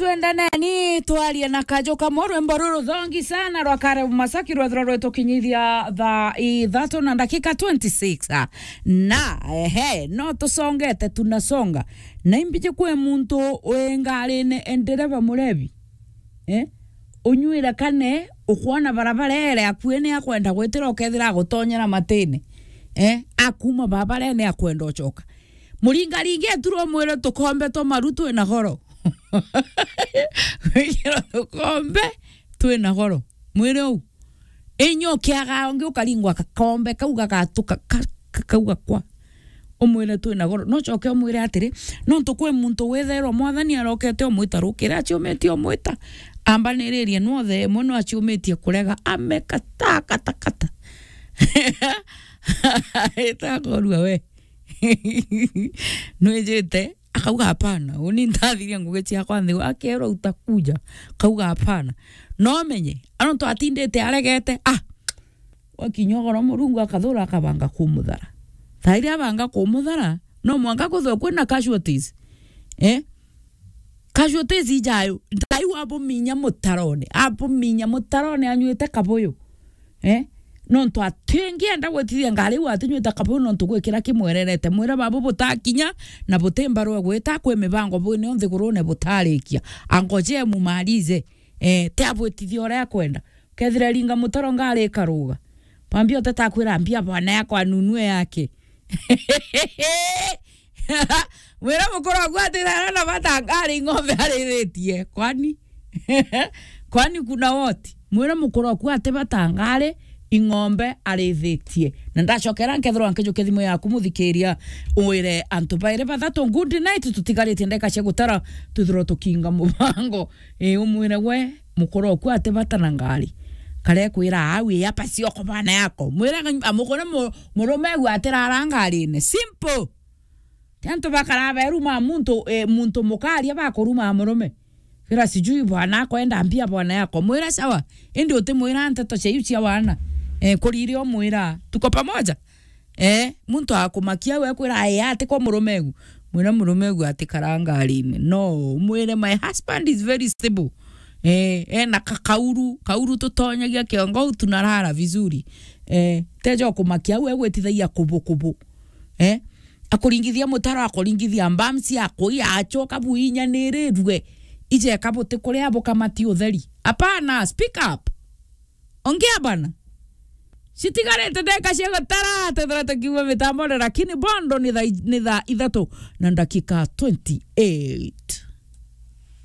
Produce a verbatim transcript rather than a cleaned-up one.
Twendane ni twarie na kaju kamwe, rwimbo ruru ruthongi sana rwa Kare Masaki rwethirwa rwitukinyithia thaa ithatu na ndagika twenty-six. Ah, na, ehe, no tusongete, tunasonga. Na imbiji kwi muntu wi ngarine, e, ndereva murevi. Eh? Unyuire kane, ukwona barabara ere akui ni akwenda gwitira, ukethira agutonyera matine. Eh? Akuma barabara ni akwenda ucoka. Muringaringi eturwo mwire tukombe twa maru twina goro. Wikirwa tukombe twina goro. Mwire u. Inyo kiaga ungi ukaringwa kakombe kau gagatuka ka-, ka-, kau gakwa. Umwire twina goro. No coke umwire atiri, nontu kwi muntu withairwa Mwathani arokete umwita rukiri, aciumitie umwita. Ambaniririe nwothe, imwe no aciumitie kurega, amekata, kata, kata. Itakorua we. Nwijite, akauga, "Hapana, uni ntathiria ngugi ciakwa nthi." Akerwa, "Utakuja." Akauga, "Hapana." No menye, anontu atindite aregete, ah, wakinya ugoro Murungu akathura akabanga kumuthara. Thairi abanga kumuthara, no mwanka kuthwe kwina casualties. Eh? Casualties ijayo, Ngai wabuminya mutarone, abuminya mutarone anyuite kabuyu. Eh? Nontu atingienda gwitithia ngari iu atinyuite kabuyu nontu gwikira kimwererete. Mwira babu butakinya na buti mbarua gwita kwi mibango bwine o nthigurune butarikia. Angoje mumalize. Eh, ti abwitithia uria akwenda. Kethira ringa mutaro ngari ikaruga. Bambi oteta akwira, "Mbia bwana yakwa nunue yake." Mwira mukuru waku ati, "Thara na bata ngari ng'ombe arithitie." Kwani? Kwani kuna woti? Mwira mukuru waku ati, "Bata ngari ing'ombe arithitie." Na ndacokera nkethirwa nkijukia thimu yaku, muthikiria, wire antu bairi bathatu, "Good night," tutigaritie ndagika cia gutara, twithirwa tukinga mubango. Ii, umwire we, mukuru oku ati bata na ngari. Kare kwira, "Au, ii, apa cioko bana yako." Mwira, "Amukore mu-, murume au atirara ngarine." Simple. Ti antu bakara beruma muntu, eh, muntu mukaria bakuruma murume. Kira sijui bwana akwenda mbia bwana yako. Mwira, "Sawa." Indi utimwira nteto cia iu cia wana. Eh, kurire umwira, "Tuko pamoja." Eh, muntu akumakia we kwira, "Aya, ati kwa murume egu." Mwira murume egu ati kara ngarine. No, mwire, "My husband is very stable." Eh, ena ka-, kauru, kauru tutonyagia kiongo, tunarara vizuri. Eh, tejo kumakia we gwitithagia kubu kubu. Eh, akuringithia mutaro, akuringithia mbamsi, akuia, acoka buinyanirwe. Ije kabuti kuria bukamati utheri. Hapana, speak up. Ongea bana. Citigarite ndagika cia gutara, twethira tukiuma mitambone, lakini bondo ni thaa, ni thaa ithatu na ndagika twenty-eight.